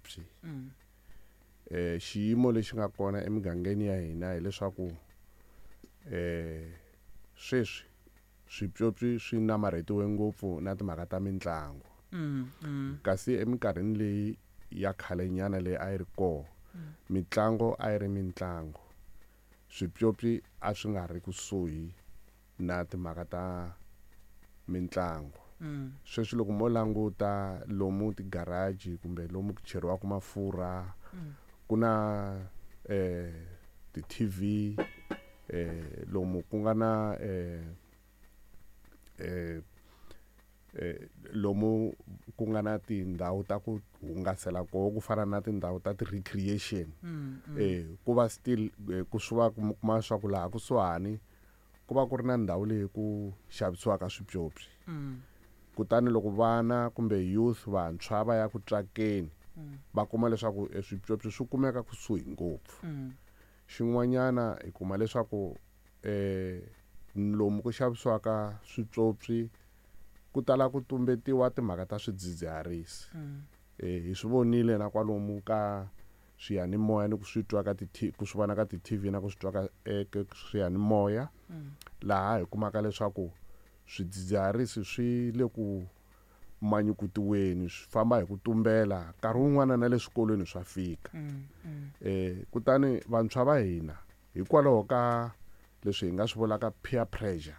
swipyopyi. Xiyimo lexi nga kona emigangeni ya hina hileswaku sweswi swipyopyi swi namarhetiwe ngopfu na timhaka ta mitlangu. Kasi eminkarhini leyi ya khalenyana leyi a yi ri kona, mitlangu a yi ri mitlangu. Swipyopyi a swi nga ri kusuhi na timhaka ta mitlangu. Sweswi loko mo languta lomu ti-garage kumbe lomu ku cheriwaka mafurha, ku na ti-TV, lomu ku nga na lomu ku nga na tindhawu ta ku hungasela koho ku fana na tindhawu ta ti-recreation. Ku va still ku swi va mi kuma leswaku laha kusuhani ku va ku ri na ndhawu leyi ku xavisiwaka swipyopyi. Kutani loko vana kumbe youth vantshwa va ya ku tsakeni, va kuma leswaku swipyopyi swi kumeka kusuhi ngopfu. Xin'wanyana hi kuma leswaku lomu ku xavisiwaka swipyopyi ku tala ku tumbetiwa timhaka ta swidzidziharisi. Hi swi vonile na kwalomu ka swiyanimoya ni ku swi twa ka ti ku swi vona ka ti-TV na ku swi twa ka eka swiyanimoya, laha hi kumaka leswaku swidzidziharisi swi le ku manyukutiweni, swi famba hi ku tumbela, nkarhi wun'wana na le swikolweni swa fika. Kutani vantshwa va hina hikwalaho ka leswi hi nga swi vulaka peer pressure,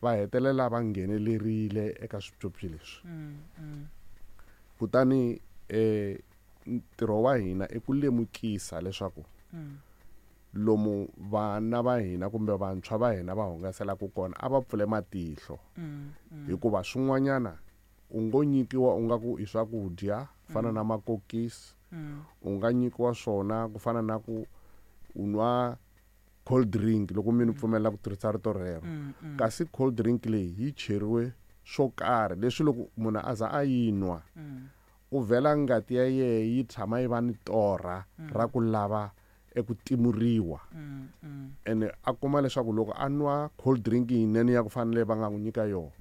va hetelela va nghenelerile eka swipyopyi leswi. Kutani ntirho wa hina i ku lemukisa leswaku lomu vana va hina kumbe vantshwa va hina va hungaselaka kona a va pfule matihlo. Hikuva swin'wanyana u ngo nyikiwa u nga ku i swakudya fana na makokisi, u nga nyikiwa swona ku fana na ku u nwa cold drink loko mi ni pfumelela ku tirhisa rito rero. Kasi cold drink leyi yi cheriwe swo karhi leswi loko munhu a za a yi nwa, u vhela ngati ya yehe yi tshama yi va ni torha ra ku lava eku timuriwa. Ene a kuma leswaku loko a nwa cold drink yinene ya ku fana leyi va nga n'wi nyika yona,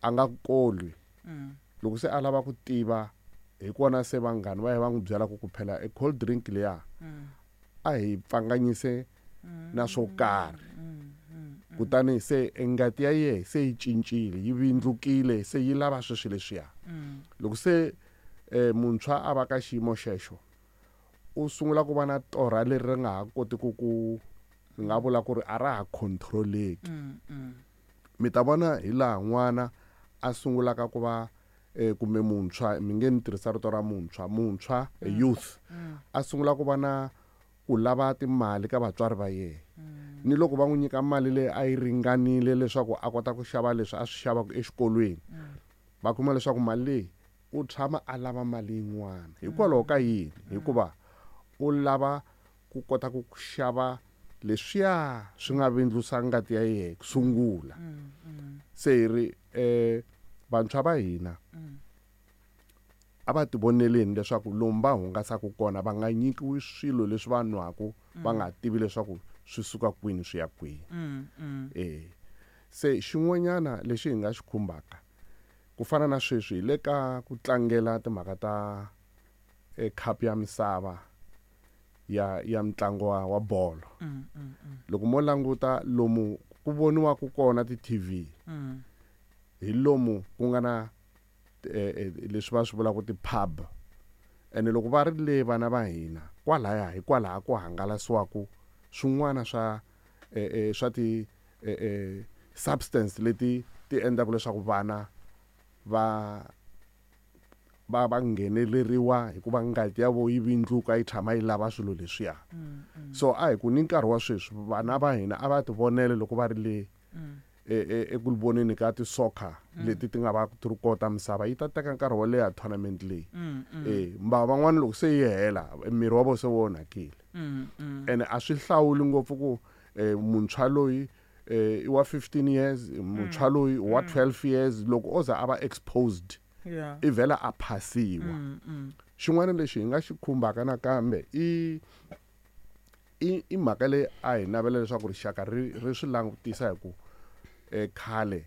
a nga kolwi. Loko se a lava ku tiva hi kona se vanghana va ye va n'wi byela ku phela e cold drink liya a hi pfanganyise na swo karhi. Kutani se ngati ya yehe se yi cincile, yi vindlukile, se yi lava sweswi leswiya. Loko se muntshwa a va ka xiyimo xexo, u sungula ku va na torha leri ri nga ha kotiki ku nga vula ku ri a ra ha control-eki. Mi ta vona hi laha n'wana a sungulaka ku va kumbe muntshwa, mi nge ni tirhisa rito ra muntshwa, muntshwa youth, a sungula ku va na ku lava timali ka vatswari va yena. Ni loko va n'wi nyika mali leyi a yi ringanile leswaku a kota ku xava leswi a swi xavaka exikolweni, va kuma leswaku mali leyi u tshama a lava mali yin'wana. Hikwalaho ka yini? Hikuva u lava ku kota ku xava leswiya swi nga vindlusa ngati ya yena ku sungula. Se hi ri vantshwa va hina a va tivoneleni leswaku lomu va hungasaka kona va nga nyikiwi swilo leswi va nwaka va nga tivi leswaku swi suka kwini swi ya kwini. Se xin'wanyana lexi hi nga xi khumbaka ku fana na sweswi hi le ka ku tlangela timhaka ta cup ya misava ya mitlangu wa bolo. Loko mo languta lomu ku voniwaka kona ti-TV, hi lomu ku nga na leswi va swi vulaka ti-pub. Ene loko va ri le vana va hina kwalaya hi kwalaha ku hangalasiwaka swin'wana swa swa ti substance leti ti endlaka leswaku vana va ngheneleriwa hikuva ngati ya vo yi vindluka yi tshama yi lava swilo leswiya. So a hi ku ni nkarhi wa sweswi vana va hina a va tivonele loko va ri le eku voneni ka ti-soccer leti ti nga va ti ri kona misava, yi ta teka nkarhi wo leha tournament leyi. Mba van'wani loko se yi hela miri wa vona se wu onhakile. Ene a swi hlawuli ngopfu ku muntshwa loyi i wa 15 years, muntshwa loyi wa 12 years, loko o za a va exposed, i vhela a phasiwa. Xin'wana lexi hi nga xi khumbaka nakambe i mhaka leyi a hi navela leswaku rixaka ri swi langutisa hi ku khale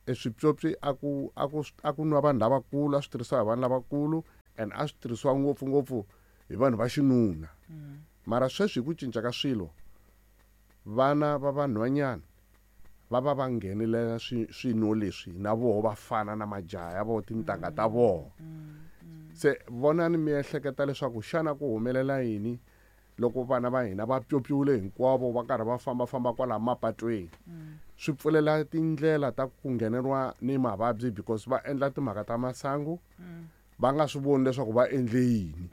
Eswipyopyi a ku nwa vanhu lavakulu, a swi tirhisiwa hi vanhu lavakulu and a swi tirhisiwa ngopfungopfu hi vanhu va xinuna. Mara sweswi hi ku cinca ka swilo, vana va vanhwanyana va va va nghenelela swinwo leswi na voho, va fana na majaha ya voho, tintangha ta voho. Se vonani, mi ehleketa leswaku xana ku humelela yini loko vana va hina va pyopyiwile hinkwavo, va karhi va fambafamba kwala mapatweni? Swi pfulela tindlela ta ku ngheneriwa ni mavabyi because va endla timhaka ta masangu va nga swi voni leswaku va endle yini.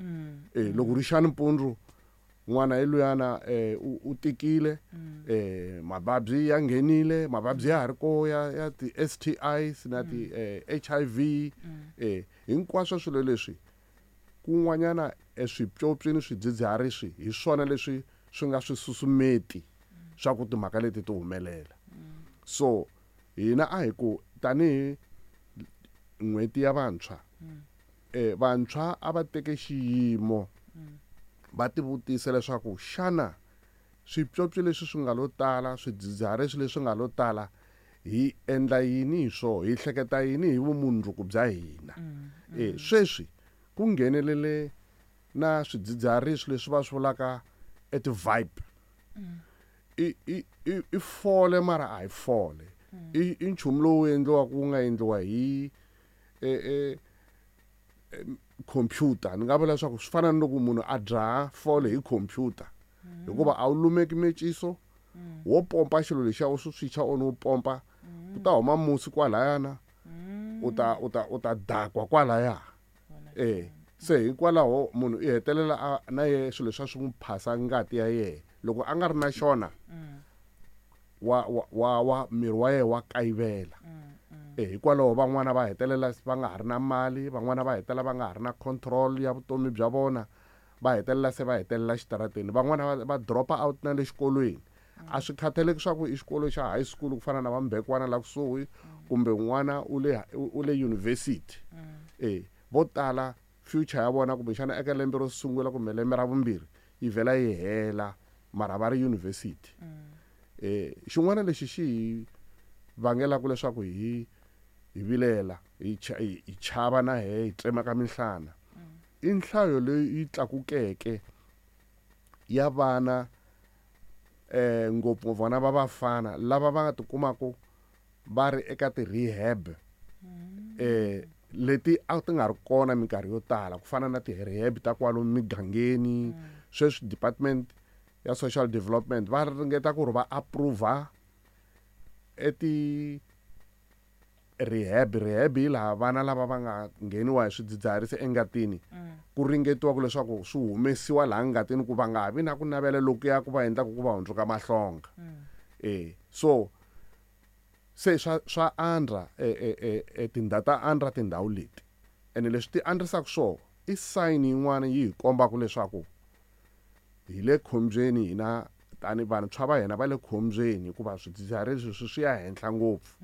Loko ri xa nimpundzu, n'wana hi luyana u tikile, mavabyi ya nghenile, mavabyi ya ha ri ko ya ti-STIs na ti HIV, hinkwaswo swilo leswi kun'wanyana eswipyopyi ni swidzidziharisi hi swona leswi swi nga swi susumeti swa ku timhaka leti ti humelela. So hina a hi ku tanihi N'hweti ya Vantshwa, vantshwa a va teke xiyimo, va tivutisa leswaku xana swipyopyi leswi swi nga lo tala, swidzidziharisi leswi nga lo tala, hi endla yini hi swoho, hi hleketa yini hi vumundzuku bya hina? Sweswi ku nghenelele na swidzidziharisi leswi va swi vulaka eti-vibe. I fole, mara a hi fole, i nchumu lowu endliwaka, wu nga endliwa hi computer. Ni nga vula leswaku swi fana ni loko munhu a dzaha fole hi computer, hikuva a wu lumeki meciso, wo pompa xilo lexiya, u swi swicha on, wu pompa, ku ta huma musi kwalayana, u ta dakwa kwalaya. Se hikwalaho munhu i hetelela a na ye swilo leswi swi n'wi phasa ngati ya yehe. Loko a nga ri na xona, wa miri wa yena wa kayivela. Hikwalaho van'wana va hetelela va nga ha ri na mali, van'wana va hetelela va nga ha ri na control ya vutomi bya vona, va hetelela se va hetelela xitarateni, van'wana va dropa out na le xikolweni. A swi khathaleki swa ku i xikolo xa high school ku fana na vambekwana la kusuhi, kumbe n'wana u le university. Vo tala future ya vona kumbexana eka lembe ro sungula kumbe lembe ra vumbirhi yi vhela yi hela, mara va ri university. Xin'wana lexi xi hi vangelaka leswaku hi vilela, hi chava na hi tsemeka minhlana, i nhlayo leyi yi tlakukeke ya vana, ngopfungopfu vana va vafana lava va nga tikumaka va ri eka ti-rehab leti a ti nga ri kona minkarhi yo tala, ku fana na ti-rehab ta kwalomu migangeni. Sweswi department ya social development va ringeta ku ri va approve eti rehab. Rehab hi laha vana lava va nga ngheniwa hi swidzidziharisi engatini, ku ringetiwa ku leswaku swi humesiwa laha ngatini, ku va nga ha vi na ku navela lokuya ku va endlaka ku va hundzuka mahlonga. So se swa andra, tindhawu ta andra tindhawu leti, ene leswi ti andrisaka swoho i sign yin'wana yi hi kombaka leswaku hi le khombyeni hina tani vantshwa va hina va le khombyeni, hikuva swidzidziharisi swi ya henhla ngopfu.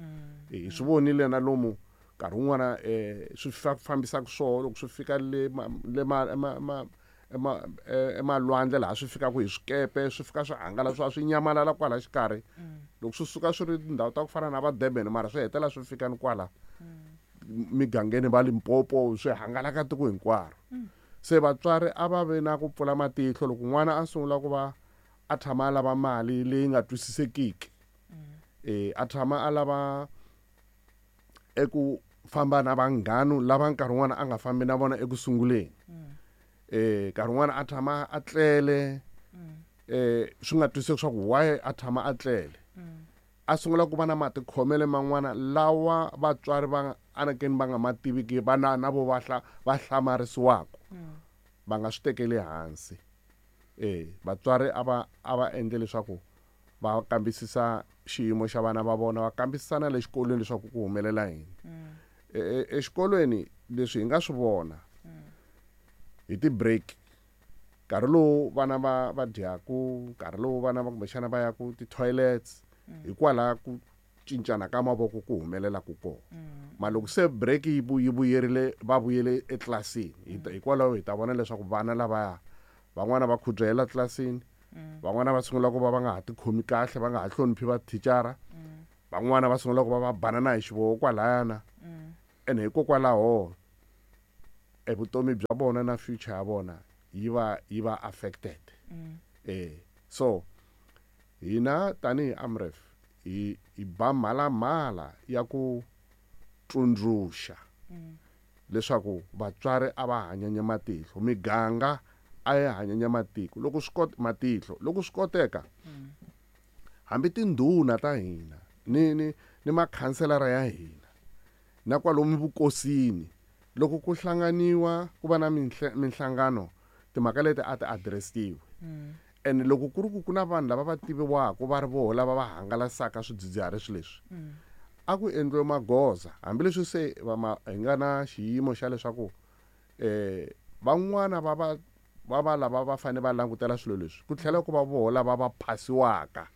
Hi swi vonile na lomu nkarhi wun'wana swi fambisaka swoho loko swi fika le emalwandle, laha swi fikaka hi swikepe, swi fika swi hangalasiwa, swi nyamalala kwala xikarhi. Loko swi suka swi ri tindhawu ta ku fana na va Durban, mara swi hetelela swi fika ni kwala migangeni va Limpopo, swi hangalaka tiko hinkwaro. Se vatswari a va ve na ku pfula matihlo loko n'wana a sungula ku va a tshama a lava mali leyi nga twisisekiki, a tshama a lava eku famba na vanghanu lava nkarhi wun'wana a nga fambi na vona eku sunguleni, nkarhi wun'wana a tshama a tlele, swi nga twiseki swa ku why a tshama a tlele, a sungula ku va na matikhomelo man'wana lawa vatswari va anakeni va nga ma tiviki, vana na vo va hlamarisiwaka, va nga swi tekeli hansi. Vatswari a va endle leswaku va kambisisa xiyimo xa vana va vona, va kambisisa na le xikolweni leswaku ku humelela yini. Exikolweni leswi hi nga swi vona hi ti-break, nkarhi lowu vana va dyaku, nkarhi lowu vana va kumbexana va yaku ti-toilets, hikwalaha ku cincana ka mavoko ku humelelaku kona. Ma loko se break yi vuyerile, va vuyele etlilasini, hikwalaho hi ta vona leswaku vana lavaya van'wana va khudzahela tlilasini, van'wana va sungula ku va va nga ha tikhomi kahle, va nga ha hloniphi vathicara. Van'wana va sungula ku va va banana hi xivoho kwalayana. Ene hikokwalaho e vutomi bya vona na future ya vona yi va affected. So hina tanihi AMREF hi ba mhalamhala ya ku tsundzuxa leswaku vatswari a va hanyanya matihlo, miganga a yi hanyanya matiko loko swi matihlo loko swi koteka. Hambi tindhuna ta hina ni makhanselara ya hina na kwalomu vukosini loko ku hlanganiwa ku va na minhlangano timhaka leti a ti addressiwe. And loko ku ri ku na vanhu lava va tiviwaka va ri voho lava va hangalasaka swidzidziharisi leswi, a ku endliwe magoza. Hambileswi se hi nga na xiyimo xa leswaku van'wana va lava va fanele va langutela swilo leswi, ku tlhela ku va voho lava va phasiwaka.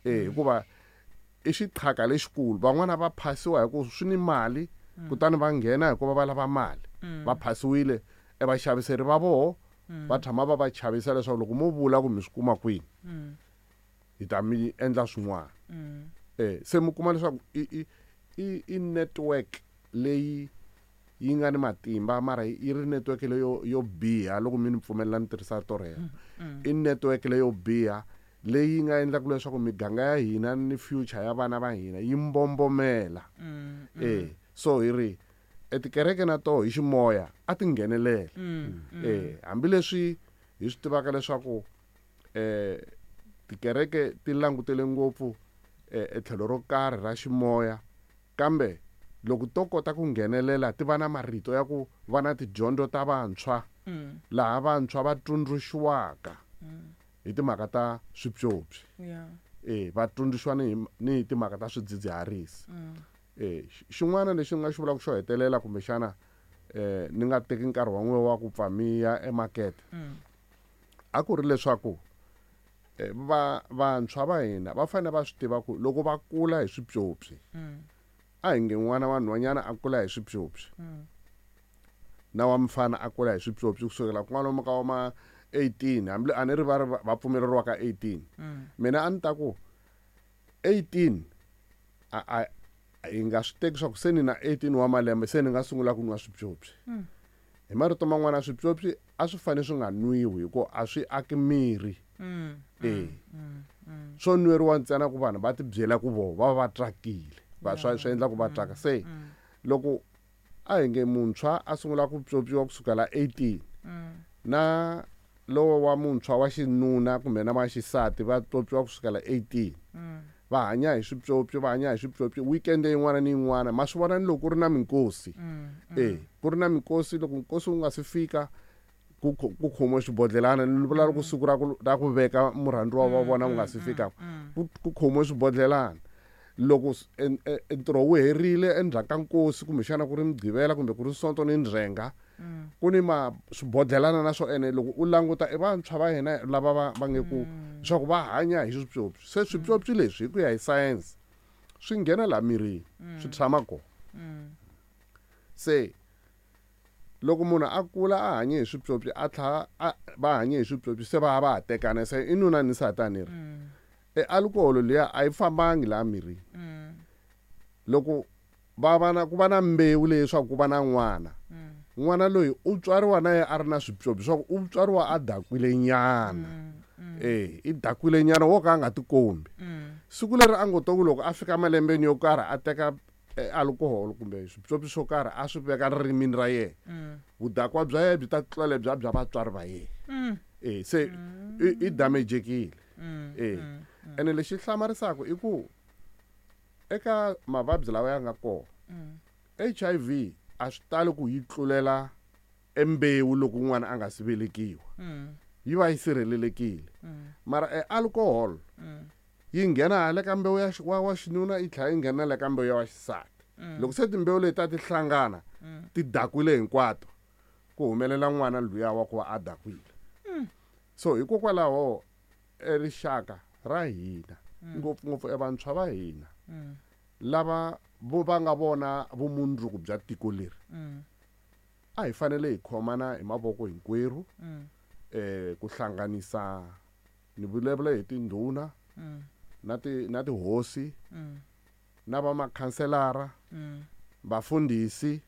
Hikuva i xiqhaka lexikulu, van'wana va phasiwa hi ku swi ni mali, kutani va nghena hikuva va lava mali. Va phasiwile e vaxaviseri va voho va tshama va va chavisa leswaku loko mo vula ku mi swi kuma kwini hi ta mi endla swin'wana. Se mi kuma leswaku i network leyi yi nga ni matimba, mara yi ri network leyo yo biha. Loko mi ni pfumelela ni tirhisa to rero, i network leyo biha leyi nga endlaka leswaku miganga ya hina ni future ya vana va hina yi mbombomela. So hi ri etikereke na toho hi ximoya a ti nghenelela. Hambileswi hi swi tivaka leswaku tikereke ti langutele ngopfu etlhelo ro karhi ra ximoya, kambe loko to kota ku nghenelela ti va na marito ya ku va na tidyondzo ta vantshwa, laha vantshwa va tsundzuxiwaka hi timhaka ta swipyopyi. Va tsundzuxiwa ni hi timhaka ta swidzidziharisi. Xin'wana lexi ni nga xi vulaka xo hetelela, kumbexana ni nga teki nkarhi wa n'we wa ku pfa mi ya emakete, a ku ri leswaku vantshwa va hina va fanele va swi tiva ku loko va kula hi swipyopyi, a hi nge n'wana wa nhwanyana a kula hi swipyopyi na wa mfana a kula hi swipyopyi kusukela kwalomu ka ma 18, hambi a ni ri va ri va pfumeleriwa ka 18. Mina a ni ta ku 18 a hi nga swi teki swa ku se ni na 18 wa malembe se ni nga sungula ku nwa swipyopyi. Hi marito man'wana swipyopyi a swi fanele swi nga nwiwi hikuva a swi aki miri. Swo nweriwa ntsena ku vanhu va ti byela ku voho va va tsakile, va swi endla ku va tsaka. Se loko a hi nge muntshwa a sungula ku pyopyiwa kusukela 18, na lowo wa muntshwa wa xinuna kumbe na wa xisati va pyopyiwa kusukela 18, va hanya hi swipyopyi, va hanya hi swipyopyi weekend yin'wana ni yin'wana. Ma swi vona ni loko ku ri na minkosi. Ku ri na minkosi, loko nkosi wu nga si fika ku khomiwe swibodlelana. Ni vula loko siku ra ku veka murhandziwa wa vona wu nga si fika, ku khomiwe swibodlelana. Loko ntirho wu herile endzhaku ka nkosi, kumbexana ku ri Mugqivela kumbe ku ri Sonto ni ndzhenga, ku ni ma swibodlelana na swo. Ene loko u languta i vantshwa va hina lava va nge ku leswaku va hanya hi swipyopyi. Se swipyopyi leswi hi ku ya hi science swi nghena laha mirini, swi tshama kona. Se loko munhu a kula a hanye hi swipyopyi, a tlhela va hanye hi swipyopyi, se va va ha tekana, se i nuna ni nsati a ni ri. Alcohol liya a yi fambangi laha mirini. Loko va va na ku va na mbewu leyi swa ku va na n'wana, n'wana loyi u tswariwa na yena a ri na swipyopyi swa ku u tswariwa a dakwile nyana. I dakwile nyana wo ka a nga tikombi. Siku leri a ngo to ku loko a fika malembeni yo karhi a teka alcohol kumbe swipyopyi swo karhi a swi veka ririmini ra yena, vudakwa bya yena byi ta tlula lebya bya vatswari va yena. Se i damejekile. Ene lexi hlamarisaka i ku eka mavabyi lawa ya nga kona, HIV a swi tali ku yi tlulela embewu loko n'wana a nga si velekiwa, yi va yi sirhelelekile. Mara alcohol yi nghena hala ka mbewu ya wa xinuna, yi tlhela yi nghena le ka mbewu ya wa xisati. Loko se timbewu leti ta ti hlangana ti dakwile hinkwato, ku humelela n'wana luya wa ku va a dakwile. So hikokwalaho rixaka ra hina, ngopfungopfu evantshwa va hina lava vo va nga vona vumundzuku bya tiko leri, a hi fanele hi khomana hi mavoko hinkwerhu, ku hlanganisa ni vulavula hi tindhuna na tihosi, Na va makhanselara, vafundhisi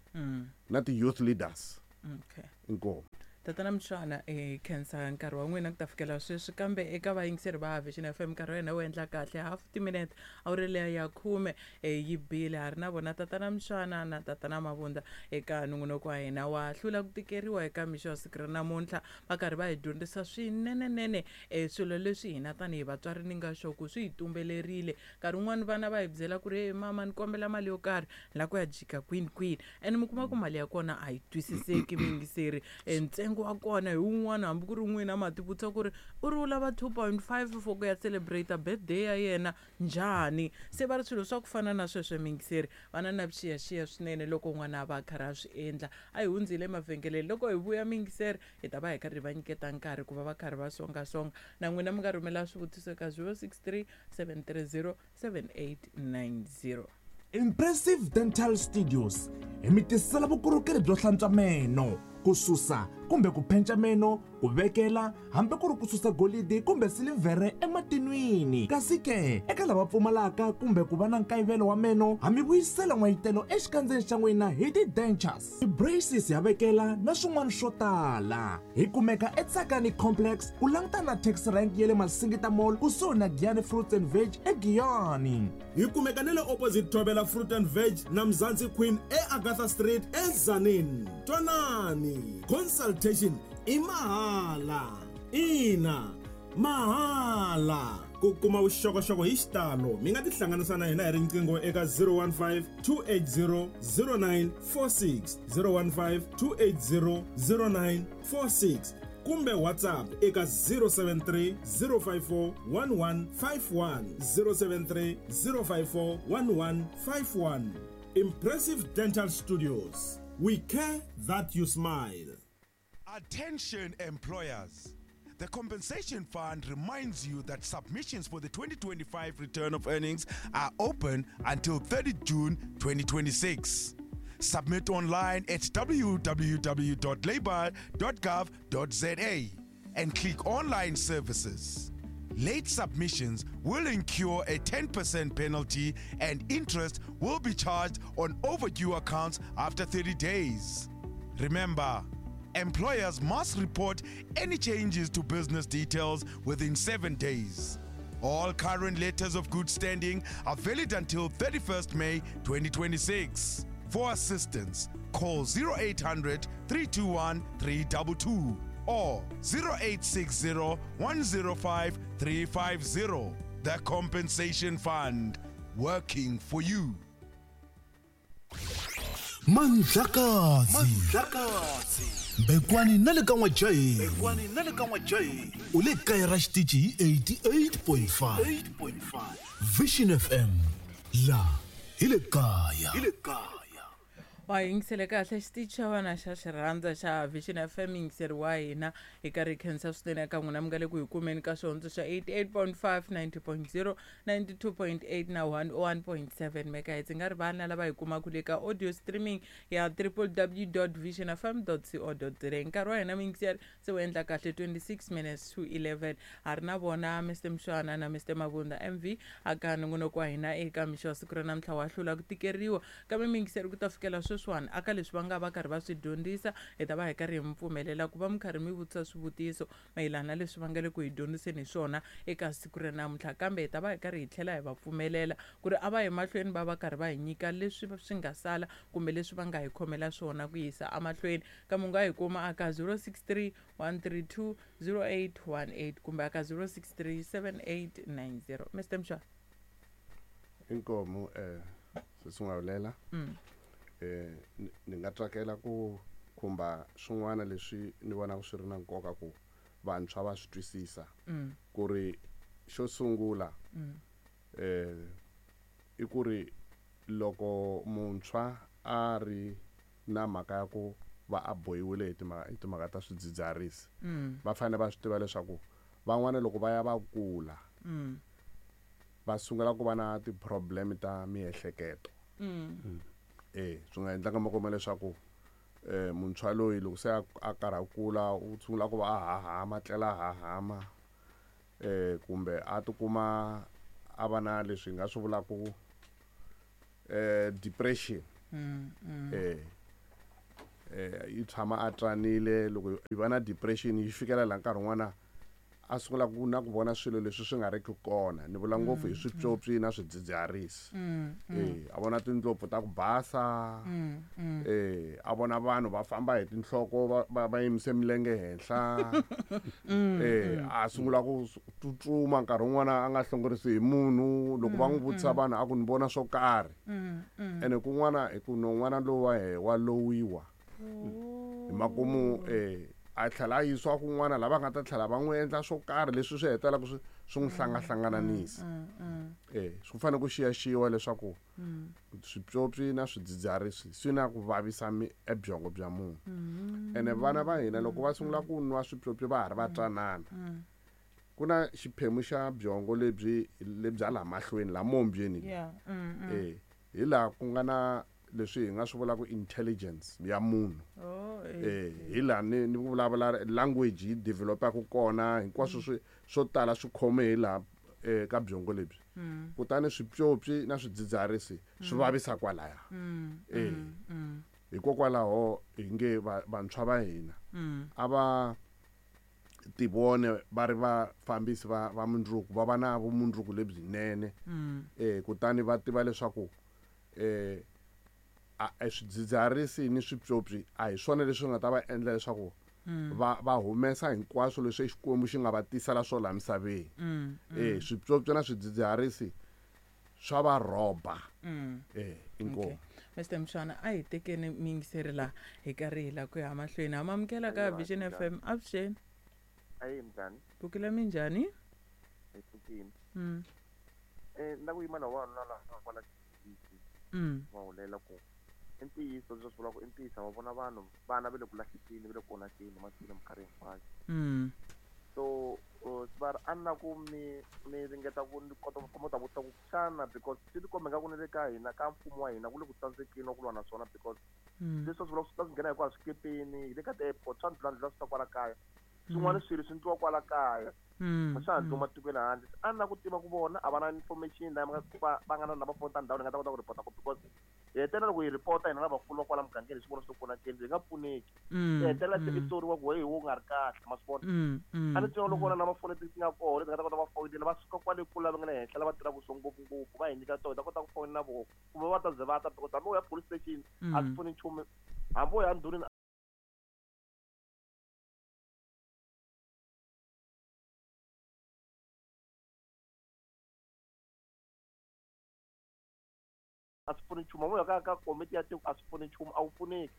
na ti-youth leaders. Okay. Inkomu. Tatana Mshwana, hi khensa nkarhi wa n'wina ku ta fikela sweswi, kambe eka vayingiseri va Vision FM nkarhi wa hina wu endla kahle half timinete awuri leya ya 10 yi bile. Ha ri na vona Tatana Mshwana na Tatana Mavunda eka nongonoko wa hina wa hlula ku tikeriwa eka mixo wa siku ra namuntlha, va karhi va hi dyondzisa swinenenene swilo leswi hina tanihi vatswari ni nga sure ku swi hi tumbelerile. Nkarhi wun'wani vana va hi byela ku ri, hey mama, ni kombela mali yo karhi, ni lava ku ya jika kwini kwini, and mi kuma ku mali ya kona a yi twisiseki muyingiseri. Ntsengo wa kona hi wun'wana, hambi ku ri n'wina ma ti vutisa ku ri u ri u lava 2.5 for ku ya celebrate birthday ya yena njhani. Se va ri swilo swa ku fana na sweswo muyingiseri, vana na vuxiyaxiya swinene loko n'wana a va a karhi a swi endla. A hi hundzile emavhengeleni, loko hi vuya muyingiseri hi ta va hi karhi hi va nyiketa nkarhi ku va va karhi va songasonga. Na n'wina mi nga rhumela swivutiso eka 063 730 7890. Impressive Dental Studios hi mi tisela vukorhokeri byo hlantswa meno, ku susa kumbe ku phenca meno, ku vekela hambi ku ri ku susa golidi kumbe silivhere ematinwini. Kasi ke eka lava pfumalaka kumbe ku va na nkayivelo wa meno, ha mi vuyisela n'wayitelo exikandzeni xa n'wina hi ti-dentures, ti-braces ya vekela na swin'wana swo tala. Hi kumeka eTsakani Complex ku langutana na taxi rank ya le Masingita Mall kusuhi na Giyani Fruits and Veg eGiyani. Hi kumeka na le opposite Thobela Fruit and Veg na Mzansi Queen eAgatha Street eTzaneen. Twanani, consultation i mahala. Ina, mahala. Ku kuma vuxokoxoko hi xitalo mi nga tihlanganisa na hina hi riqingho eka 015 280 0946, 015 280 0946, kumbe WhatsApp eka 073 054 1151, 073 054 1151. Impressive Dental Studios, we care that you smile. Attention employers. The Compensation Fund reminds you that submissions for the 2025 return of earnings are open until 30 June 2026. Submit online at www.labor.gov.za and click Online Services. Late submissions will incur a 10% penalty and interest will be charged on overdue accounts after 30 days. Remember, employers must report any changes to business details within 7 days. All current letters of good standing are valid until 31st May 2026. For assistance, call 0800 321 322 or 0860 105 350. The Compensation Fund, working for you. Mandlakazi Mbekwani na le ka N'wajaheni u le kaya ra xitichi hi 88.5 Vision FM, la hi le kaya. Wa yingisele kahle xitichi xa vana xa xirhandza xa Vision FM, yingiseri wa hina hi karhi hi khensa swinene eka n'wina mi nga le ku hi kumeni ka xihondzo xa 88.5, 90.0, 92.8 na 101.7 megahertz. Nga rivali na lava hi kumaka le ka audio streaming ya www.visionfm.co.za. Nkarhi wa hina muyingiseri se wu endla kahle 26 minutes to 11. Ha ri na vona Mr Mshwana na Mr Mavunda MV aka nongonoko wa hina eka mixo wa siku ra namuntlha wa hlula ku tikeriwa. Kambe muyingiseri ku ta fikela sweswiwani aka leswi va nga va karhi va swi dyondzisa, hi ta va hi karhi hi mi pfumelela ku va mi karhi mi vutisa swivutiso mayelana na leswi va nga le ku hi dyondziseni hi swona eka siku ra namuntlha. Kambe hi ta va hi karhi hi tlhela hi va pfumelela ku ri a va yi mahlweni va va karhi va hi nyika leswi swi nga sala kumbe leswi va nga hi khomela swona ku yisa emahlweni. Kambe u nga hi kuma aka 063 132 0818 kumbe aka 063 7890. Mr Mshwana. Inkomu sesingawulela. Ni nga tsakela ku khumba swin'wana leswi ni vonaka swi ri na nkoka ku vantshwa va swi twisisa. Ku ri xo sungula i ku ri loko muntshwa a ri na mhaka ya ku va a bohiwile hi timhaka ta swidzidziharisi, va fanele va swi tiva leswaku van'wana loko va ya va kula va sungula ku va na ti-problem ta miehleketo. Swi nga endlaka mi kuma leswaku muntshwa loyi loko se a karhi a kula u sungula ku va a hahama, tlela a hahama, kumbe a tikuma a va na leswi hi nga swi vulaka Depression. Yi tshama a tsanile. Loko yi va na depression, yi fikela laha nkarhi wun'wana a sungula ku na ku vona swilo leswi swi nga ri ki kona. Ni vula ngopfu hi swipyopyi na swidzidziharisi. A vona tindlopfu ta ku basa, a vona vanhu va famba hi tinhloko, va yimise milenge henhla. A sungula ku tsutsuma nkarhi wun'wana a nga hlongorisi hi munhu. Loko va n'wi vutisa vanhu, a ku ni vona swo karhi. Ene kun'wana hi ku non'wana lowu wa he wa lowiwa hi makumu, a tlhela a yisiwa kun'wana lava nga ta tlhela va n'wi endla swo karhi leswi swi hetelelaka swi n'wi hlangahlangananisa. Swi fanele ku xiyaxiwa leswaku swipyopyi na swidzidziharisi swi na ku vavisa ebyongo bya munhu. Ene vana va hina loko va sungula ku nwa swipyopyi va ha ri va twanana, ku na xiphemu xa byongo lebyi lebya laha mahlweni, laha mombyeni, hi laha ku nga na leswi hi nga swi vulaka intelligence ya munhu. Hi laha ni vulavula language yi developaka kona, hinkwaswo swo tala swi khome hi laha ka byongo lebyi. Kutani swipyopyi na swidzidziharisi swi vavisa kwalaya. Hikokwalaho hi nge vantshwa va hina a va tivone va ri vafambisi va mundzuku, va va na vumundzuku lebyinene. Kutani va tiva leswaku swidzidziharisi ni swipyopyi a hi swona leswi nga ta va endla leswaku va humesa hinkwaswo leswi Xikwembu xi nga va tisela swona laha misaveni. Swipyopyi na swidzidziharisi swa va rhoba. Inkomu. Mr Mshwana, a hi tekeni miyingiseri laha hi karhi hi la ku ya mahlweni. Ha mamukela ka Vision FM. Avuxeni. Ayi, minjhani? Pfukile, minjhani? Hi pfukile. Na ku yima na wanuna laha kwala va hulela ku i ntiyiso leswi swi vulaka, i ntiyiso. Va vona vanhu, vana va le ku lahlekeni, va le ku onhakeni masiku minkarhi hinkwayo. So va a ni na ku mi ringeta ku ni kota ku ta vutisa ku xana, because swi tikomba nga ku ni le ka hina, ka mfumo wa hina, ku le ku tsandzekeni wa ku lwa na swona, because leswi swi vulaka swi ta swi nghena hinkwayo swikepeni, hi le ka ti-airport, swa ndlula swi ta kwala kaya. Swin'wana swilo swi ndliwa kwala kaya, a swa ha ndliwa matikweni handle. A ni na ku tiva ku vona a va na information laha va nga na lava foni ta ndhawu ni nga ta kota ku report-a ku, because hi hetelela loko hi report-a hina lavakulu va kwala mugangeni, hi swi vona swi onhakeni, hi nga pfuneki. Hi hetelela se i soriwa ku hey, wo nga ri kahle, ma swi vona. A ni tiva loko na mafoni leti ti nga kona leti nga ta kota va foyinela, va suka kwale kule lava nga le henhla, lava tirhaka swo ngopfungopfu, va hi nyika tona, hi ta kota ku foyinela vona kumbe va ta ze va ta, because hambi u ya police station a swi pfuni nchumu, hambi u ya ndhunini a swi pfuni nchumu, hambi u ya ka komiti ya tiko a swi pfuni nchumu, a wu pfuneki.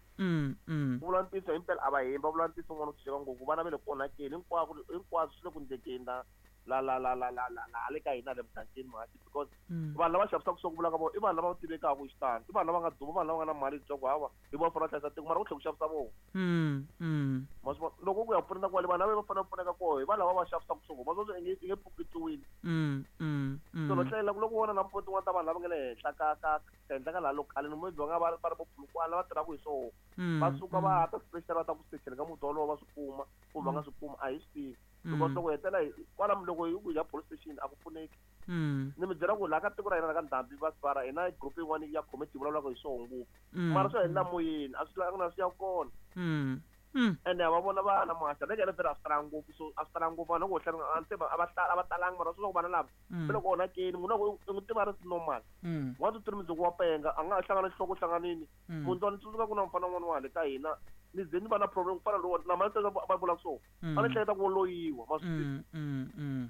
Ku vula ntiyiso himpela a va hembi, va vula ntiyiso n'wana u tshunxeka ngopfu. Vana va le ku onhakeni hinkwako, hinkwaswo swi le ku ndlekeni la la la la la la la la le ka hina le mugangeni muhaxi, because vanhu lava xavisaka swo ku vulaka vona i vanhu lava tivekaka hi xitalo, i vanhu lava nga duma, vanhu lava nga na mali leswaku hawa hi vona fanele va hlayisa tiko, mara ku tlhela ku xavisa vona. Ma swi vona loko ku ya pfuneta kwale, vanhu lava va fanele va pfuneka koho hi vanhu lava va xavisaka swo, ma swi vona i nge pfuketiwile. So no hlayela ku loko vona na mpfuno tin'wana ta vanhu lava nga le henhla ka henhla ka laha local ni maybe va nga va ri vo Polokwane lava tirhaka hi swona, va suka va ta special, va ta ku sechela ka muti wolowo, va swi kuma kumbe va nga swi kuma, a hi swi tivi, because loko hetelela hi kwala, loko hi ku ya police station a ku pfuneki. Ni mi byela ku laha ka tiko ra hina la ka ndhambi va svara, hina group yin'wana ya committee vulavulaka hi swona ngopfu, mara swo helela moyeni, a swi na swi ya kona. Ene va vona vana muhaxa leke ene vhele a swi talanga ngopfu, so a swi talanga ngopfu vanhu loko hlaya a ni se a va talangi, mara swi ku vana lava va le ku onhakeni. Munhu loko i n'wi tiva ri normal, 1 2 3, mundzuku wa penga, a nga ha hlangana nhloko hlanganini. Munhu ni tsundzuka ku na mufana un'wana wa hale ka hina, ni ze ni va na problem ku fana lowu na mali va vulaka so, a ni hleketa ku wo loyiwa, ma swi tiva.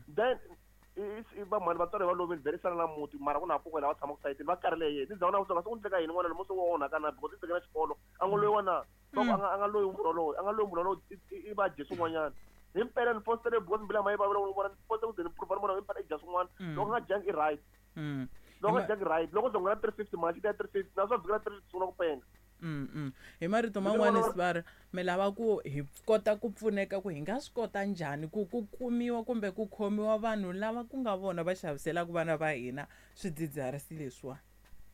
Then i vamhani vatswari va lovile vhele sala na muti, mara ku na kokwana lava tshamaka sayitini va karhele yena. Ni za na ku swi endleka yini n'wana loyi se wo onhaka na, because i tekela xikolo, a ngo loyiwa na va ku a nga loyi munhu wolowo, a nga loyi munhu wolowo, i va dye swin'wanyana himpela. Ni postele because mbilu ya ma yi vavela ku vona, ni poste ku ze ni prove ni vona himpela i dya swin'wana. Loko a nga dyangi i right, loko a nga dyangi right, loko zongo na 350 mali xi ta ya 350 na swa vhiki ra 350 sungula ku penga. Hi marito man'wani, sivara mi lava ku hi kota ku pfuneka ku hi nga swi kota njhani ku kumiwa kumbe ku khomiwa vanhu lava ku nga vona va xaviselaka vana va hina swidzidziharisi leswiwani?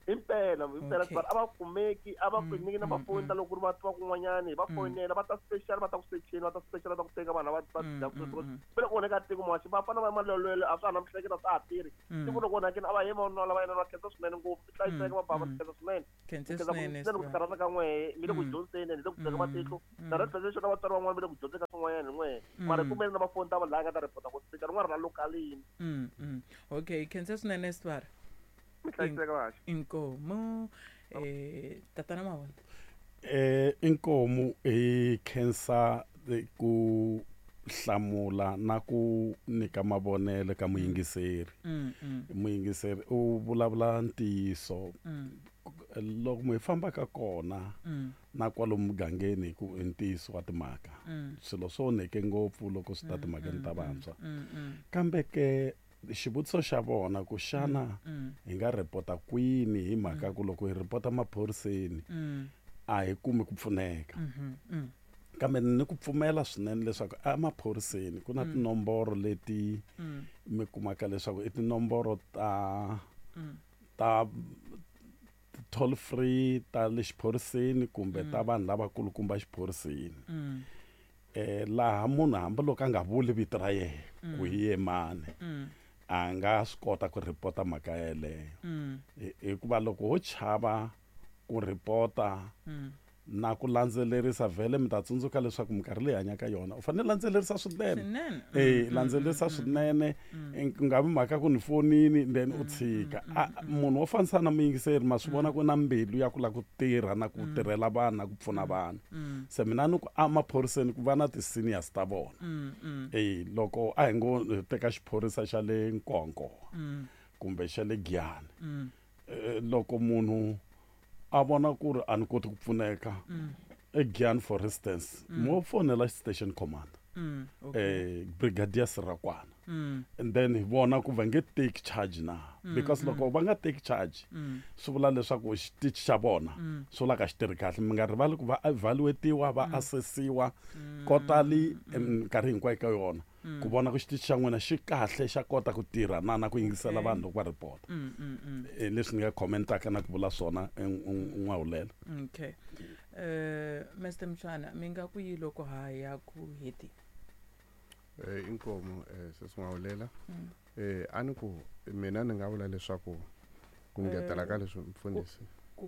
Impela impela a va kumeki a va kumeki na mafoni ta loko ku ri va kun'wanyani va fonela va ta special va ta ku secheni va ta special va ta ku teka vanhu va va dya ku le ku onheka tiko muhaxi va fana va malwelwele a swa ha na mihleketa swa ha tirhi tiko loko onhakini a va yima vanhu lava yena va khensa swinene ngopfu ti hlayiseka va bava khensa swinene khensa swinene ku karhata ka n'wehe mi le ku dyondzeni ni le ku byela matihlo na red presentation na vatswari van'wana va le ku dyondzeni ka swin'wanyana n'wehe mara kumeni na mafoni ta vanhu laha nga ta report ku special rin'wana ra localini. Okay, khensa swinene Sibara. Mi hlayiseka vahaxi. Inkomu tatana Mavona. Inkomu hi khensa ku hlamula na ku nyika mavonelo ka muyingiseri. Muyingiseri u vulavula ntiyiso. Loko mi fambaka kona na kwalomu mugangeni ku i ntiyiso wa timhaka. Swilo swo onheke ngopfu loko swi ta timhakeni ta vantshwa. Kambe ke xivutiso xa vona ku xana hi nga ripota kwini hi mhaka ku loko hi ripota maphoriseni a hi kumi ku pfuneka. Kambe ni ku pfumela swinene leswaku emaphoriseni ku na tinomboro leti mi kumaka leswaku i tinomboro ta ta toll free ta le xiphoriseni kumbe ta vanhu lavakulukumba xiphoriseni. Laha munhu hambiloko a nga vuli vito ra yena ku hi ye mani a nga swi kota ku ripota mhaka yeleyo. Hikuva loko ho chava ku ripota na ku landzelerisa vhele mi ta tsundzuka leswaku minkarhi leyi hanyaka yona u fanele landzelerisa swinene. Landzelerisa swinene ku nga vi mhaka ku ni fonini then u tshika. Munhu wo fanisa na muyingiseri ma swi vona ku na mbilu ya ku lava ku tirha na ku tirhela vanhu na ku pfuna vanhu. Se mina ni ku emaphoriseni ku va na ti-seniors ta vona. Loko a hi ngo teka xiphorisa xa le Nkowankowa kumbe xa le Giyani. Loko munhu a vona ku ri a ni koti ku pfuneka eGiyani for instance mo fonela station commander brigadier Sirakwana and then hi vona ku va nge take charge na because loko va nga take charge swi vula leswaku xitichi xa vona swi vula ka xi tirhi kahle. Mi nga rivali ku va evaluatiwa va assessiwa kotali minkarhi hinkwayo ka yona ku vona ku xitichi xa n'wina xi kahle xa kota ku tirha na ku yingisela vanhu loko va report. Leswi ni nga commentaka na ku vula swona n'wahulela. Okay. Mr Mshwana, mi nga ku yi loko ha ya ku heti? Inkomu sesin'wahulela. A ni ku mina ni nga vula leswaku ku ngetela ka leswi mfundhisi.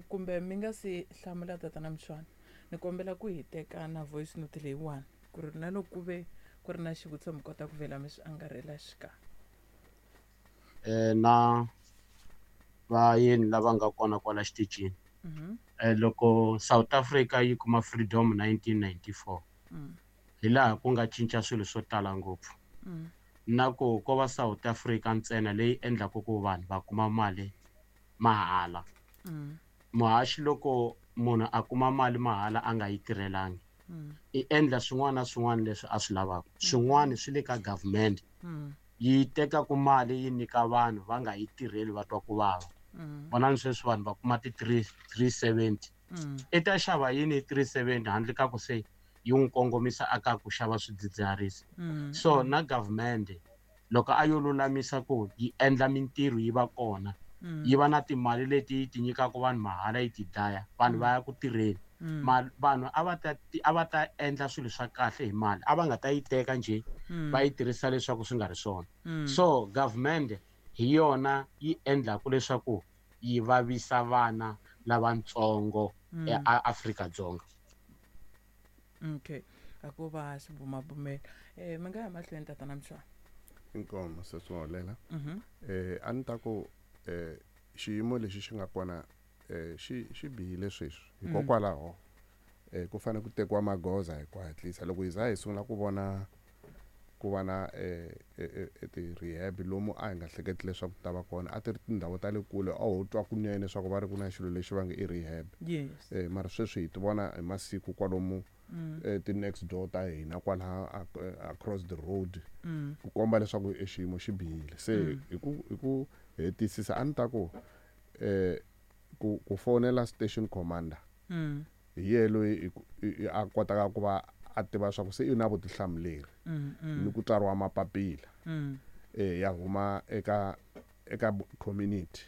Kumbe mi nga si hlamula tatana Mshwana, ni kombela ku hi teka na voice note leyiwani ku ri na loko ku ve ku ri na xivutiso mi kota ku vhela mi swi angarhela xikarhi. Na vayeni lava nga kona kwala xitichini. Loko South Africa yi kuma freedom 1994 hi laha ku nga cinca swilo swo tala ngopfu. Na ku ko va South Africa ntsena leyi endlaka ku vanhu va kuma mali mahala. Muhaxi loko munhu a kuma mali mahala a nga yi tirhelangi i endla swin'wana na swin'wana leswi a swi lavaka. Swin'wana swi le ka government yi teka ku mali yi nyika vanhu va nga yi tirheli va twa ku vava. Vonani sweswi vanhu va kuma ti 370. I ta xava yini 370 handle ka ku se yi n'wi kongomisa aka ku xava swidzidziharisi. So na government loko a yo lulamisa ku yi endla mintirho yi va kona yi va na timali leti yi ti nyikaka vanhu mahala yi ti dlaya vanhu va ya ku tirheni. Vanhu a va ta endla swilo swa kahle hi mali a va nga ta yi teka njhe va yi tirhisa leswaku swi nga ri swona. So government hi yona yi endlaka leswaku yi vavisa vana lavatsongo eAfrika-Dzonga. Okay, a ku va xibumabumelo. Mi nga ya mahlweni tatana Mshwana. Inkomu sesin'wahulela. A ni ta ku xiyimo lexi xi nga kona xi bihile sweswi hikokwalaho ku fanele ku tekiwa magoza hi ku hatlisa. Loko hi za hi sungula ku vona ku va na ti-rehab lomu a hi nga hleketi leswaku ta va kona a ti ri tindhawu ta le kule a ho twa kunene leswaku va ri ku na xilo lexi va nge i rehab. Mara sweswi hi ti vona hi masiku kwalomu ti-next door ta hina kwalaha across the road ku komba leswaku e xiyimo xi bihile. Se hi ku hetisisa a ni ta ku ku fonela station commander hi yena loyi a kotaka ku va a tiva swa ku se i na vutihlamuleri ni ku tsariwa mapapila ya huma eka community.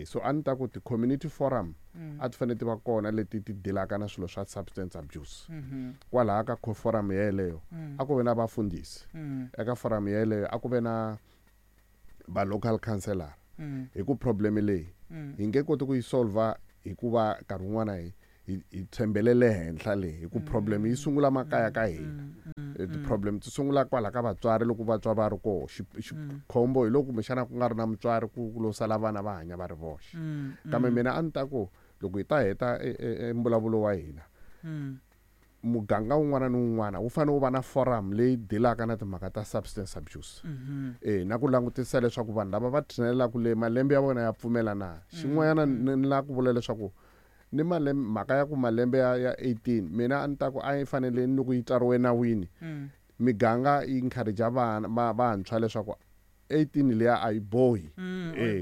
So a ni ta ku ti-community forum a ti fanele ti va kona leti ti dilaka na swilo swa substance abuse. Kwalaha ka forum yeleyo a ku ve na vafundhisi, eka forum yeleyo a ku ve na va local councillor, hi ku problem leyi hi nge koti ku yi solva hikuva nkarhi wun'wana hi tshembelele henhla leyi, hi ku problem yi sungula makaya ka hina. Ti-problem ti sungula kwala ka vatswari loko vatswari va ri koho. Xikhombo hi loko kumbexana ku nga ri na mutswari, ku lo sala vana va hanya va ri voxe. Kambe mina a ni ta ku loko hi ta heta mbulavulo wa hina, muganga wun'wana ni wun'wana wu fanele wu va na forum leyi dilaka na timhaka ta substance abuse, na ku langutisa leswaku vanhu lava va tshinelelaka le malembe ya vona ya pfumela na. Xin'wanyana ni lava ku vula leswaku ni malembe, mhaka ya ku malembe ya 18, mina a ni ta ku a yi fanele ni loko yi tsariwe nawini, miganga yi encourage vana vantshwa leswaku 18 liya a yi bohi,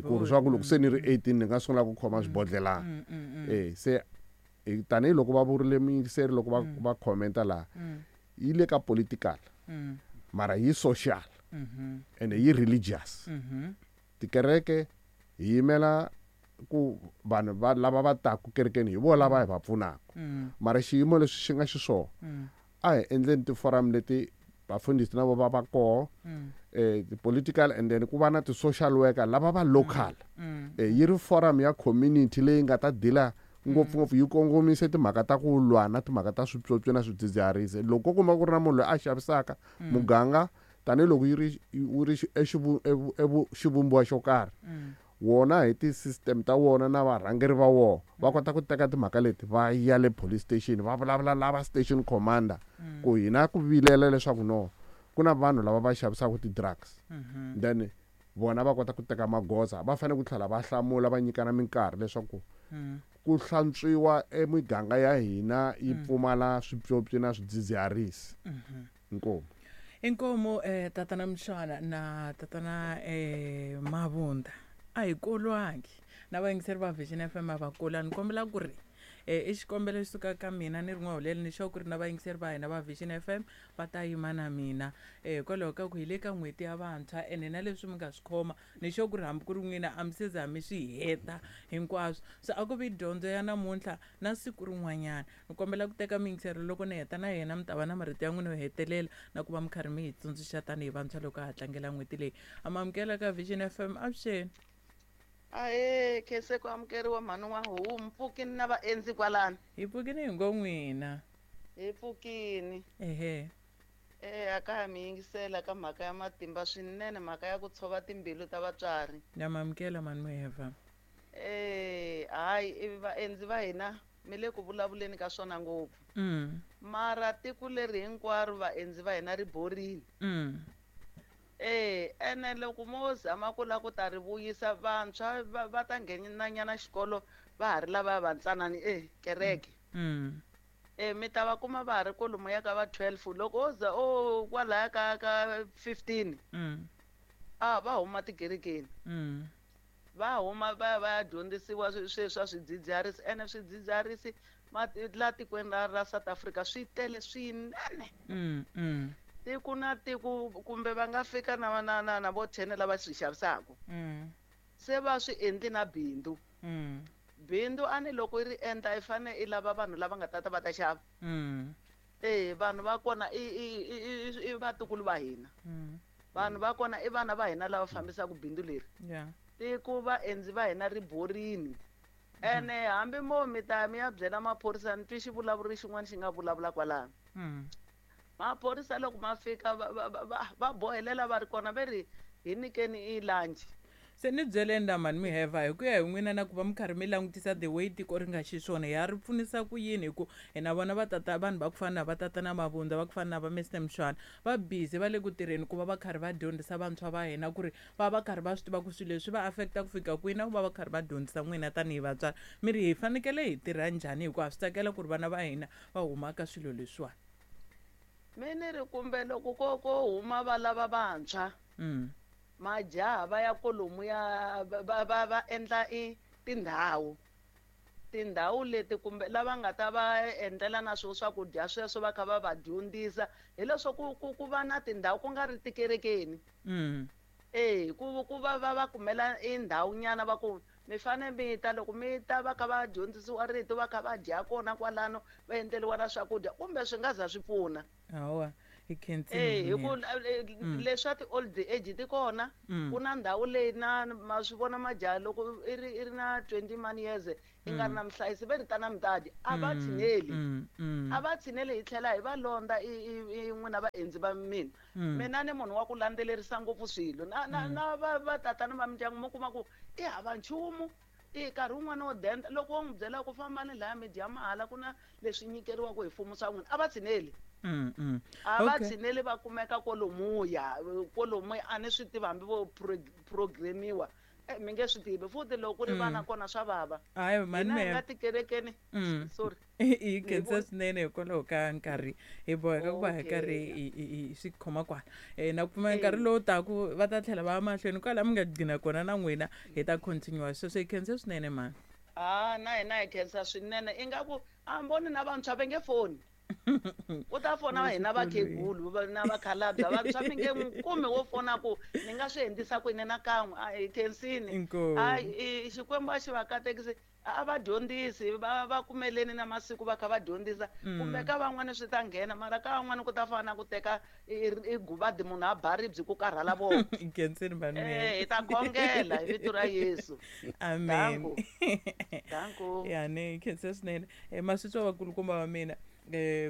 ku ri swa ku loko se ni ri 18 ni nga sungula ku khoma swibodlelana. Se tanihiloko va vurile muyingiseri loko va commenta laha, yi le ka political, mara yi social ene yi religious. Tikereke hi yimela ku vanhu va lava va taku kerekeni hi vona lava hi va pfunaka, mara xiyimo leswi xi nga xiswona, a hi endleni ti-forum leti vafundhisi na vo va va koho, ti-political, and then ku va na ti-social worker lava va local. Yi ri forum ya community leyi nga ta dila ngopfungopfu yi kongomise timhaka ta ku lwa na timhaka ta swipyopyi na swidzidziharisi. Loko ko kuma ku ri na munhu loyi a xavisaka, muganga tanihiloko yi ri wu ri xivumbiwa xo karhi, wona hi ti-system ta wona na varhangeri va wona va kota ku teka timhaka leti va ya le police station, va vulavula lava station commander ku hina ku vilela leswaku no ku na vanhu lava va xavisaka ti-drugs. Then vona va kota ku teka magoza, va fanele ku tlhela va hlamula, va nyikana minkarhi leswaku ku hlantswiwa emiganga ya hina yi pfumala swipyopyi na swidzidziharisi. Inkomu. Inkomu tatana Mshwana na tatana Mabunda. A hi kolwangi na vayingiseri va Vision FM a va kolani. Kombela ku ri i xikombelo xi suka ka mina ni ri n'wahuleli, ni sure ku ri na vayingiseri va hina va Vision FM va ta yima na mina, hikwalaho ka ku hi le ka n'hweti ya vantshwa, ene na leswi mi nga swi khoma ni sure ku ri hambi ku ri n'wina a mi se za mi swi heta hinkwaswo. So a ku vi dyondzo ya namuntlha na siku rin'wanyana. Ni kombela ku teka miyingisero loko ni heta na yena mi ta va na marito ya n'wina yo hetelela na ku va mi karhi mi hi tsundzuxa tanihi vantshwa loko ha tlangela n'hweti leyi. Amamukela ka Vision FM, avuxeni. Ahe, khense ku amukeriwa mhani wa homu, pfukini na vaendzi kwalano. Hi pfukini hi ngo n'wina. Hi pfukini. Ehe. A ka ha mi yingisela ka mhaka ya matimba swinene, mhaka ya ku tshova timbilu ta vatswari. Na mamukela mhani Muheva. Hayi, i vaendzi va hina mi le ku vulavuleni ka swona ngopfu. Mara tiko leri hinkwaro vaendzi va hina ri borini. Ene loko mo zama ku lava ku ta ri vuyisa, vantshwa va ta nghenanyana xikolo va ha ri lava va ntsanani kereke. Mi ta va kuma va ha ri kwalomu ya ka va 12, loko o za o kwalaya ka 15, va huma tikerekeni. Va huma va ya va ya dyondzisiwa sweswi swa swidzidziharisi, ene swidzidziharisi la tikweni ra South Africa swi tele swinene. Tiko na tiko kumbe va nga fika na vo 10 lava swi xavisaka. Se va swi endli na bindzu. Bindzu a ni loko i ri endla i fanele i lava vanhu lava nga tata va ta xava. Vanhu va kona i vatukulu va hina. Vanhu va kona i vana va hina lava fambisaka bindzu leri. Tiko vaendzi va hina ri borini. Ene hambi mo mi ta mi ya byela maphorisa, ni twi xivulavuri xin'wana xi nga vulavula kwalano. Maphorisa loko ma fika va bohelela va ri kona, va ri hi nyikeni i lunch. Se ni byeleni la mhani Muheva, hi ku ya hi n'wina na ku va mi karhi mi langutisa the way tiko ri nga xiswona, ya ri pfunisa ku yini? Hi ku hi na vona va tata, vanhu va ku fana na va tata na Mabunda, va ku fana na va Mister Mshwana, va busy va le ku tirheni ku va va karhi va dyondzisa vantshwa va hina ku ri va va karhi va swi tiva ku swilo leswi va affecta ku fika kwihi, na ku va va karhi va dyondzisa n'wina tanihi vatswari. Mi ri hi fanekele hi tirha njhani, hikuva swi tsakela ku ri vana va hina va huma ka swilo leswiwani? Mi ni ri kumbe loko ko huma va lava vantshwa, majaha va ya kolomu ya va endla i tindhawu, tindhawu leti kumbe lava nga ta va endlela na swo swakudya sweswo va kha va va dyondzisa, hileswo ku va na tindhawu ku nga ri tikerekeni. Ku va va va kumela indhawu nyana va ku mi fane mi ta loko mi ta va kha va dyondzisiwa rito va kha va dya kona kwalano va endleriwa na swakudya kumbe swi nga za swi pfuna. Hawa, hi khensile. Hi ku leswa ti-old age ti kona, ku na ndhawu leyi na ma swi vona majaha loko i ri na 20 man years i nga ri na muhlayisi ve ri ta na mutadi a va tshineli, a va tshineli hi tlhela hi va londza i n'wina vaendzi va mina. Mina ni munhu wa ku landzelerisa ngopfu swilo na na na va tatana va mindyangu mi kuma ku i hava nchumu, i nkarhi wun'wana wo denda loko wo n'wi byela ku fambani laya mi dya mahala ku na leswi nyikeriwaka hi mfumo swa n'wina a va tshineli. A va tshineli va kumeka kwalomuya a ni swi tivi hambi vo programiwa mi nge swi tivi futhi loko ku ri vana kona swa vava. Hayi mani hi nga tikerekeni. Sorry. Hi khensa swinene hikwalaho ka nkarhi hi boheka ku va hi karhi hi swi khoma kwala. Na ku pfumela nkarhi lowu taku va ta tlhela va ya mahlweni kwala mi nga gcina kona na n'wina hi ta continue sweswo. Hi khensa swinene mani. Na hina hi khensa swinene. Ingaku a voni na vantshwa va nge foni. U ta fona hina vakhegulu na vakhalabya vantshwa mi nge n'wi kumi wo fona ku ni nga swi endlisa ku yini na kan'we. A hi khensini. A Xikwembu a xi va katekisi, a va dyondzisi va kumeleni na masiku va kha va dyondzisa kumbe ka van'wani swi ta nghena mara ka van'wani ku ta fana na ku teka i guvadi munhu a ba ribyi ku karhala vona. Khensini vanhu. Hi ta khongela hi vito ra Yesu. Amen. Danko. Ya ni khensa swinene. Maswitswa vakulukumba va mina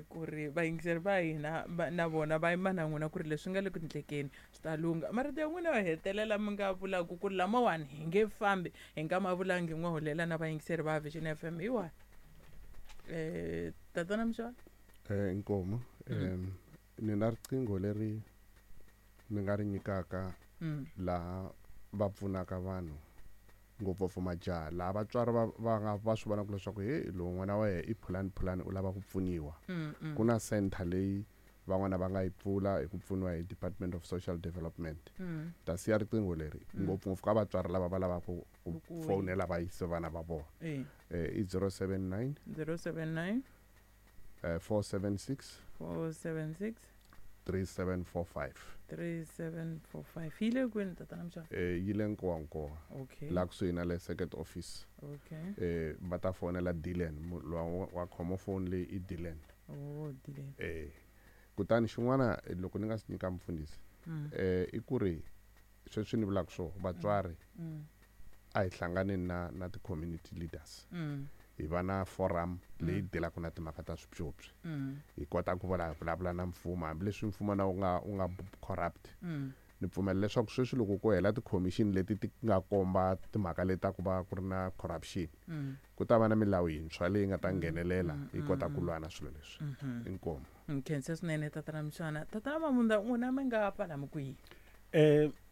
ku ri vayingiseri va hina na vona va yima na n'wina ku ri leswi nga le ku ndlekeni swi ta lungha. Marito ya n'wina yo hetelela mi nga vulaku ku ri lamawani hi nge fambi hi nga ma vulangi n'we holela na vayingiseri va Vision FM hi wahi? Tatana Mxola? Inkomu. Ni na riqingho leri ni nga ri nyikaka laha va pfunaka vanhu ngopfungopfu majaha laha vatswari va nga va swi vonaka leswaku he lowu n'wana wa yena i phulani u lava ku pfuniwa. Ku na center leyi van'wana va nga yi pfula hi ku pfuniwa hi Department of Social Development. Ta siya riqingho leri ngopfungopfu ka vatswari lava va lavaka ku fonela va yise vana va vona. I 079 079 476 476 3745 3745. Yi le kwini tatana Mxola? Yi le Nkowankowa. Okay. La kusuhi na le circuit office. Okay. Va ta fonela Dylan, wa khoma phone leyi i Dylan. Oh, Dylan. Kutani xin'wana loko ni nga swi nyika mfundhisi, i ku ri sweswi ni vulaka swo vatswari a hi hlanganeni na ti-community leaders. Hi va na forum leyi dilaka na timhaka ta swipyopyi. Hi kota ku vulavula na mfumo hambileswi mfumo na wu nga corrupt. Ni pfumela leswaku sweswi loko ku hela ti-commission leti ti nga komba timhaka leti ta ku va ku ri na corruption, ku ta va na milawu yintshwa leyi nga ta nghenelela yi kota ku lwa na swilo leswi. Inkomu. Nkhensa swinene tatana Mxana. Tatana Mabunda, n'wina mi nga pfala mi kwihi?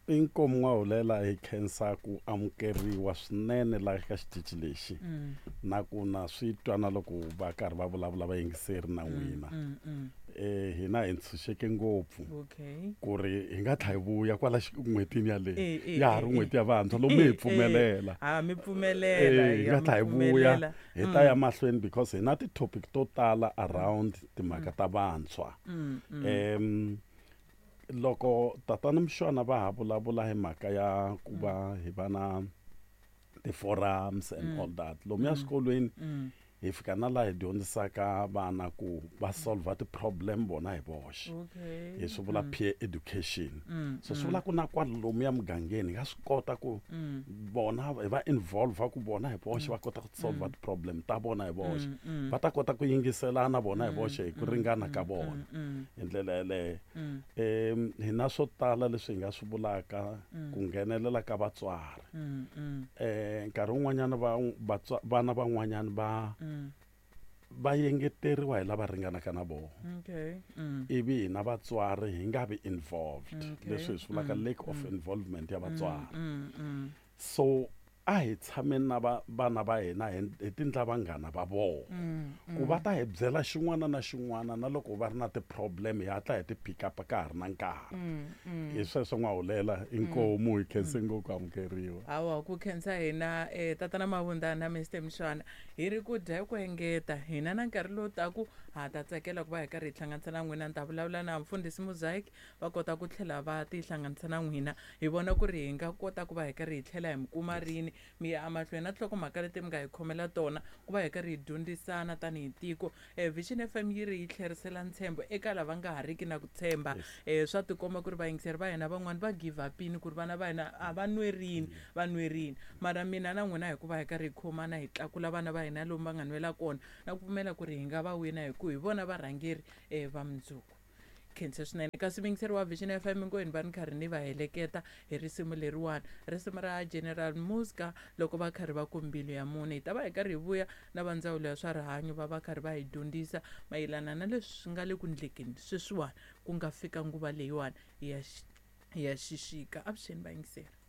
Inkomu n'wahulela hi khensa ku amukeriwa swinene laha ka xitichi lexi na ku na swi twa na loko va karhi va vulavula vayingiseri na n'wina. Hina hi ntshunxeke ngopfu ku ri hi nga tlha hi vuya kwala n'hwetini yaleyo ya ha ri n'hweti ya vantshwa lomu hi pfumelela. Mi pfumelela, hi nga tlha hi vuya hi ta ya mahlweni because hi na ti-topic to tala around timhaka ta vantshwa. Loko tatana Mxona va ha vulavula hi mhaka ya ku va hi va na ti-forums and all that lomuya swikolweni hi fika na laha hi dyondzisaka vana ku va solve ti-problem vona hi voxe. Hi swi vula peer education. So swi vula ku na kwala lomuya mugangeni hi nga swi kota ku vona hi va involve ku vona hi voxe va kota ku solve ti-problem ta vona hi voxe. Va ta kota ku yingiselana vona hi voxe hi ku ringana ka vona hi ndlela yeleyo. Hi na swo tala leswi hi nga swi vulaka ku nghenelela ka vatswari. Nkarhi wun'wanyana vana van'wanyana va yengeteriwa hi lava ringanaka na vona. Ivi hina vatswari hi nga vi involved. Leswi hi swi vulaka lack of involvement ya vatswari. So A hi tshameni na vana va hina hi tindla vanghana va vona, ku va ta hi byela xin'wana na xin'wana, na loko va ri na ti-problem hi hatla hi ti pick up ka ha ri na nkarhi. Hi sweswo, N'wahulela. Inkomu, hi khense ngopfu amukeriwa. Hawa, ku khensa hina, tatana Mavunda na Mr Mshwana. Hi ri ku dya ku engeta hina na nkarhi lowu taku ha ta tsakela ku va hi karhi hi hlanganisa na n'wina. Ni ta vulavula na mfundhisi Mosaic, va kota ku tlhela va tihlanganisa na n'wina, hi vona ku ri hi nga kota ku va hi karhi hi tlhela hi mi kuma rini, mi ya emahlweni na tinhlokomhaka leti mi nga hi khomela tona, ku va hi karhi hi dyondzisana tanihi tiko. Vision FM yi ri yi tlherisela ntshembo eka lava nga ha riki na ku tshemba. Swa tikomba ku ri vayingiseri va hina van'wani va give upini ku ri vana va hina a va nwerini, va nwerini, mara mina na n'wina hi ku va hi karhi hi khomana hi tlakula vana va hina lomu va nga nwela kona, na ku pfumela ku ri hi nga va wina, hi ku hi vona varhangeri va mundzuku. Khensa swinene. Kasi muyingiseri wa Vision FM, hinkwenu va ni karhi ni va heleketa hi risimu leriwani, risimu ra General Muska, loko va karhi va ku Mbilu ya Munhu. Hi ta va hi karhi hi vuya na va ndzawulo ya swa rihanyo, va va karhi va hi dyondzisa mayelana na leswi swi nga le ku ndlekeni sweswiwani, ku nga fika nguva leyiwani ya xixika. Avuxeni, vayingiseri.